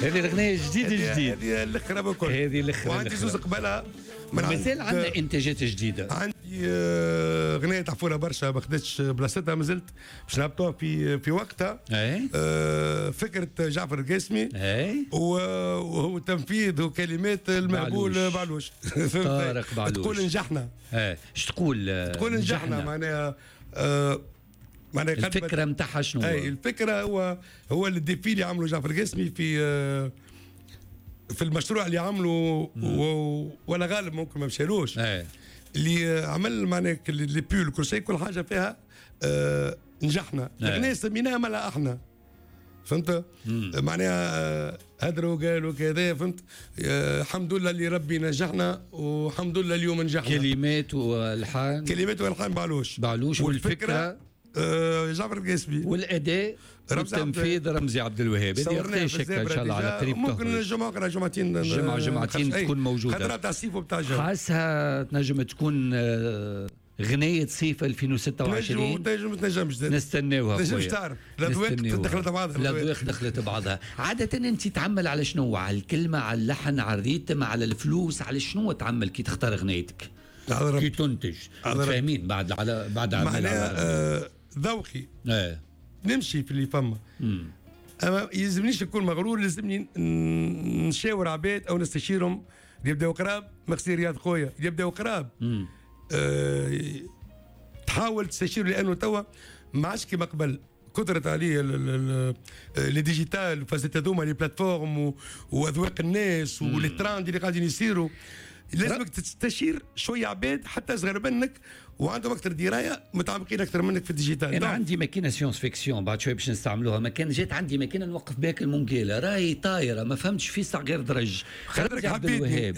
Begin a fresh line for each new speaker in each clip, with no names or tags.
هذه الاغنية جديد جديد،
هذه الاخرى بكل،
هذه الاخرى.
وعندي زوز قبلها.
مازال عندنا انتاجات جديدة.
عندي اغنية تعرفوها برشا ما خدتش بلاصتها، مازلت باش نهبطوها في وقتها. فكرة جعفر القاسمي وهو تنفيذ وكلمات المهبول بعلوش،
طارق بعلوش.
تقول نجحنا.
اش تقول؟
تقول نجحنا معناها معناها
الفكرة نتاعها شنو؟
اي الفكرة هو ال défi اللي عمله جعفر القاسمي في المشروع اللي عمله، ولا غالب ممكن ما مشالوش. اللي عمل معناها les pulls كل شيء، كل حاجة فيها نجحنا. الاغنية سميناها ملا احنا، فهمت؟ معناها هدروا قالوا كذا، فهمت؟ الحمد لله اللي ربي نجحنا، والحمد لله اليوم نجحنا.
كلمات والحان،
كلمات والحان بعلوش،
بعلوش، والفكرة
جعفر القاسمي،
والاداء والتنفيذ رمزي عبد الوهاب. هذه ان شاء الله على قريب،
ممكن الجمعة اخرى، جمعتين،
جمعه جمعتين تكون موجودة.
خاطر تاع الصيف وبتاع الجو،
حاسها تنجم تكون غنية صيف 2026.
تنجم تنجمش،
نستناوها.
تنجمش تعرف، الاذواق دخلت بعضها،
الاذواق دخلت بعضها. عادة انت تعمل على شنو؟ على الكلمة، على اللحن، على ال rythme، على الفلوس، على شنو تعمل كي تختار غنيتك؟ كي تنتج، فاهمين؟ بعد على بعد
معناها ذوقي نمشي في اللي فما. اما يلزمنيش نكون مغرور، لازمني نشاور عباد او نستشيرهم اللي يبداو قراب. مغسي رياض خويا اللي يبداو قراب، تحاول تستشير، لانه توا ما عادش كيما قبل، كثرت عليه les digital فازت هذوما les plateformes واذواق الناس و les trends اللي قاعدين يصيروا. لازمك تستشير شوية عباد حتى صغير منك وعندهم اكثر دراية، متعمقين اكثر منك في ال digital.
انا عندي ماكينة science-fiction بعد شوية باش نستعملوها، ما كان جات عندي ماكينة نوقف بها المونجيلا، راهي طايره ما فهمتش في ساعة غير درج.
خاطرك حبيتني.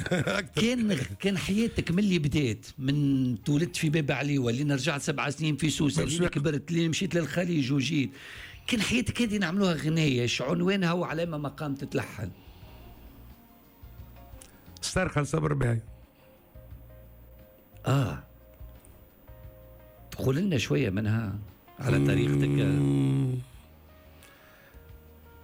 كان حياتك من اللي بدات، من تولدت في باب عليوه لين رجعت 7 سنين في سوسة، لين كبرت، لين مشيت للخليج وجيت، كان حياتك هذه نعملوها غنايه عنوانها وعلى ما مقام تتلحن؟
صرخة صبر بهاي.
تقول لنا شوية منها على طريقتك.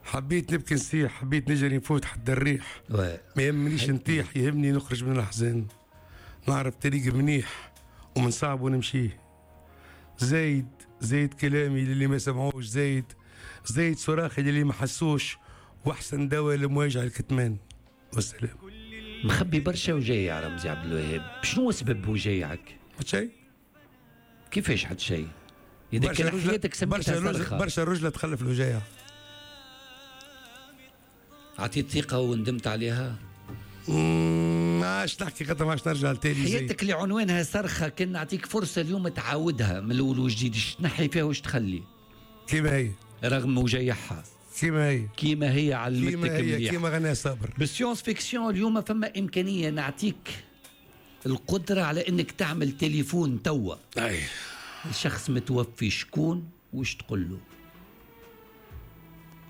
حبيت نبكي نصيح، حبيت نجري نفوت حد الريح، ما يهمنيش نطيح، يهمني نخرج من الأحزان، نعرف طريق منيح ومن صعب ونمشيه. زايد زايد كلامي للي ما سمعوش، زايد زايد صراخي للي ما حسوش، واحسن دواء لمواجهة الكتمان. والسلام.
مخبي برشا وجايع رمزي عبد الوهاب، شنو سبب وجايعك؟
حتى شيء.
كيفاش حتى شيء؟ إذا كان حياتك سميتها صرخة.
برشا رجلة تخلف الوجايع.
عطيت ثقة وندمت عليها؟
ما عادش نحكي خاطر ما عادش نرجع لتالي.
حياتك اللي عنوانها صرخة، كان نعطيك فرصة اليوم تعاودها من الأول وجديد، اش تنحي فيها واش تخلي؟
كيما هي.
رغم وجايعها.
كيما هي،
كيما هي علمتك مليح،
كيما غنى صابر.
بال science-fiction اليوم فما إمكانية نعطيك القدرة على إنك تعمل تليفون توا.
أي
الشخص متوفي شكون وش تقول له؟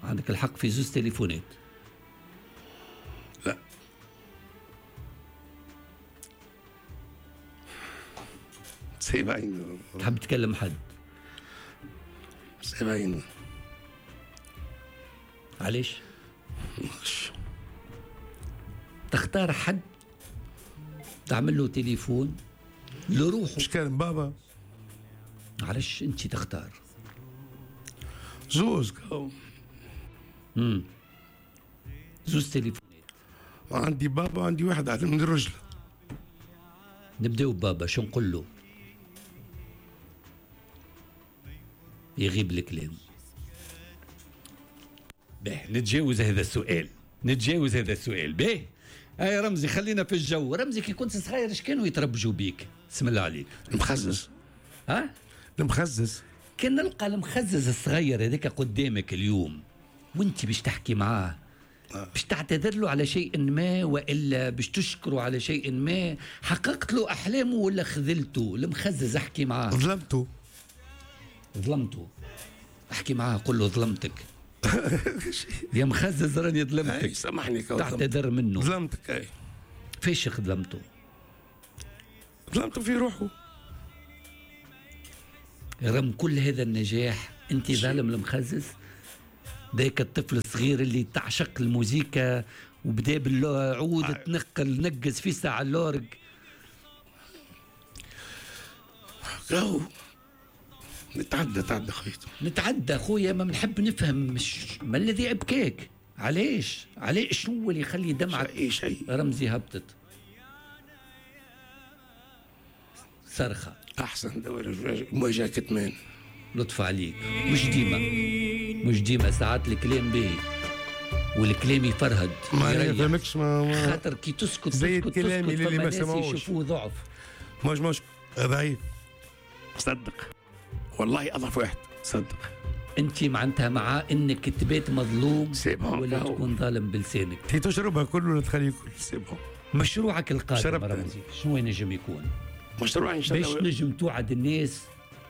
عندك الحق في زوز تليفونات.
لا سيبعين.
تحب تكلم حد؟
سيبعين.
علاش؟ تختار حد تعمل له تليفون لروحه.
مش كان بابا.
علاش انت تختار؟
زوز.
زوز تليفونات.
عندي بابا وعندي واحد على من الرجل.
نبداو بابا، شو نقول له؟ يغيب الكلام. به نتجاوز هذا السؤال، نتجاوز هذا السؤال. به اي رمزي خلينا في الجو. رمزي كي كنت صغير اش كانوا يتربجوا بيك؟ بسم الله عليك.
المخزز.
ها؟
المخزز.
كان نلقى المخزز الصغير هذاك قدامك اليوم وانت باش تحكي معاه، باش تعتذر له على شيء ما والا باش تشكره على شيء ما، حققت له احلامه ولا خذلته؟ المخزز احكي معاه.
ظلمته.
ظلمته. احكي معاه قل له ظلمتك. يا مخزز راني ظلمتك،
سامحني.
تعتذر منه.
ظلمتك. اي
فيش ظلمته؟
ظلمته في روحه.
رغم كل هذا النجاح انت ظالم المخزز؟ ذاك الطفل الصغير اللي تعشق الموسيقى وبدا بالعود تنقل نقز في ساعة l'orgue.
راهو نتعدى خويا،
نتعدى خويا. ما بنحب نفهم ما الذي ابكاك؟ علاش شنو اللي يخلي دمعة
شيء
رمزي هبطت؟ صرخة
أحسن دواء مواجهة كتمان.
لطف عليك. مش ديما ساعات الكلام باهي والكلام يفرهد،
ما يفهمكش، ما
خاطر كي تسكت
زي الكلام اللي ما سمعوش
يشوفوه ضعف.
مش ضعيف، صدق والله أضعف واحد، صدق.
انت معناتها مع انك تبات مظلوم ولا تكون ظالم بلسانك.
تي تشربها كل ولا تخليه كل، c'est bon.
مشروعك القادم رمزي شنو ينجم يكون؟
مشروع ان شاء الله
باش نجم توعد الناس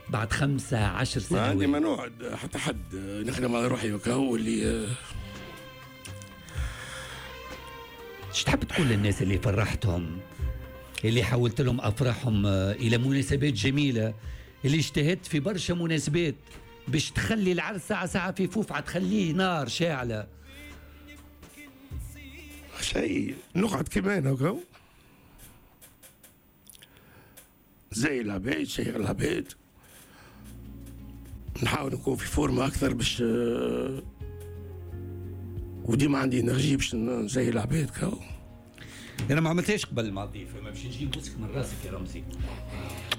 بعد 5-10 سنوات.
ما عندي ما نوعد حتى حد، نخدم على روحي وكهو. اللي
اش تحب تقول للناس اللي فرحتهم، اللي حولت لهم افراحهم الى مناسبات جميلة، اللي اجتهدت في برشا مناسبات باش تخلي العرس ساعة ساعة في فوفعة، تخليه نار شاعلة؟
شيء نقعد كيما انا وكهو، زي العباد، شيء العباد. نحاول نكون في forme أكثر باش، وديما عندي énergie باش نزي العباد كهو.
أنا ما عملتهاش قبل مع الضيف، ما باش نجي نبوسك من راسك يا رمزي،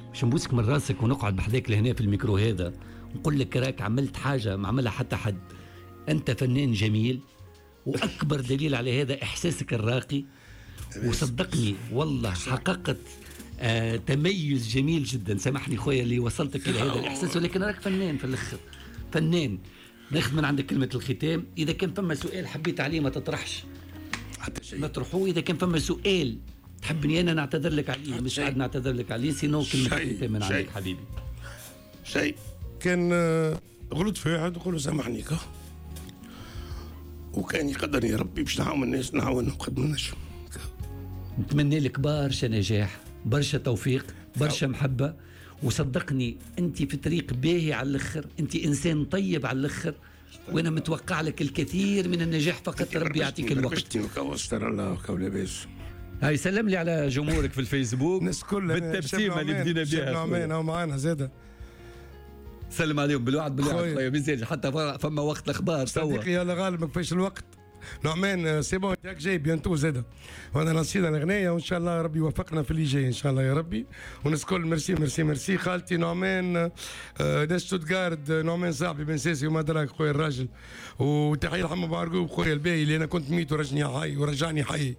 باش نبوسك من راسك ونقعد بحذاك لهنا في الميكرو هذا نقول لك راك عملت حاجة ما عملها حتى حد. أنت فنان جميل، وأكبر دليل على هذا إحساسك الراقي. وصدقني والله حققت تميز جميل جدا. سامحني خويا اللي وصلتك إلى هذا الإحساس، ولكن راك فنان في الآخر، فنان. ناخذ من عندك كلمة الختام. إذا كان فما سؤال حبيت عليه ما تطرحش
حتى شيء،
نطرحوه. إذا كان فما سؤال تحبني أنا نعتذر لك عليه، مش قاعد نعتذر لك عليه، sinon كلمة الختام من عندك حبيبي.
شيء كان غلط في واحد نقول له سامحني، وكان يقدرني ربي باش نعاون الناس نعاونهم قد ما نجم.
نتمنى لك برشا نجاح، برشا توفيق، برشا محبة. وصدقني أنت في طريق باهي على الآخر، أنت إنسان طيب على الآخر، وأنا متوقع لك الكثير من النجاح. فقط ربي يعطيك الوقت. هاي سلم لي على جمهورك في الفيسبوك
الناس كلها
بالتبسيمة اللي بدينا بها.
نعمان هو معانا زاده،
سلم عليهم بالوعد خويا ميزاج حتى فما وقت الأخبار توا.
صديقي يا غالب ما كفاش الوقت. نعمان c'est bon ياك جاي bientôt زاده، وانا لانسينا الغنايه وان شاء الله ربي يوفقنا في اللي جاي ان شاء الله يا ربي. والناس الكل merci merci merci. خالتي نعمان، ناس شتوتغارد، نعمان صاحبي بن ساسي وما دراك خويا الراجل. وتحية لحمو بارقوب خويا الباهي اللي انا كنت ميت ورجعني حي، ورجعني حي.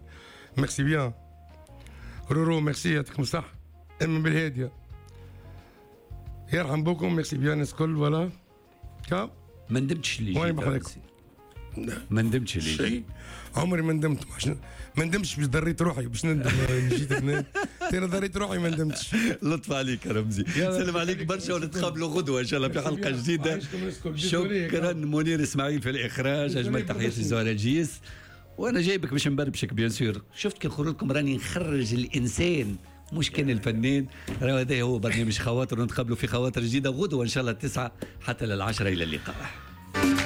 merci bien رورو، ميرسي يعطيكم الصحة. ام بالهاديه يرحم بكم. merci bien الناس الكل. voilà كا
ما ندمتش اللي جيت، ما ندمتش ليه
شيء، عمري ما ندمت. ما ندمتش باش ضريت روحي باش ندم جيت هنا، انا ضريت روحي ما ندمتش.
لطف عليك يا رمزي، سلام عليك برشا، ونتقابلوا غدوه ان شاء الله في حلقة جديدة. شكرا منير اسماعيل في الاخراج، اجمل تحياتي زهره جيس. وانا جايبك باش نبربشك bien sûr. شفت كي نخرج لكم راني نخرج الانسان مش كان الفنان. هذا هو برنامج خواطر، ونتقابلوا في خواطر جديدة غدوه ان شاء الله 9 حتى 10. الى اللقاء.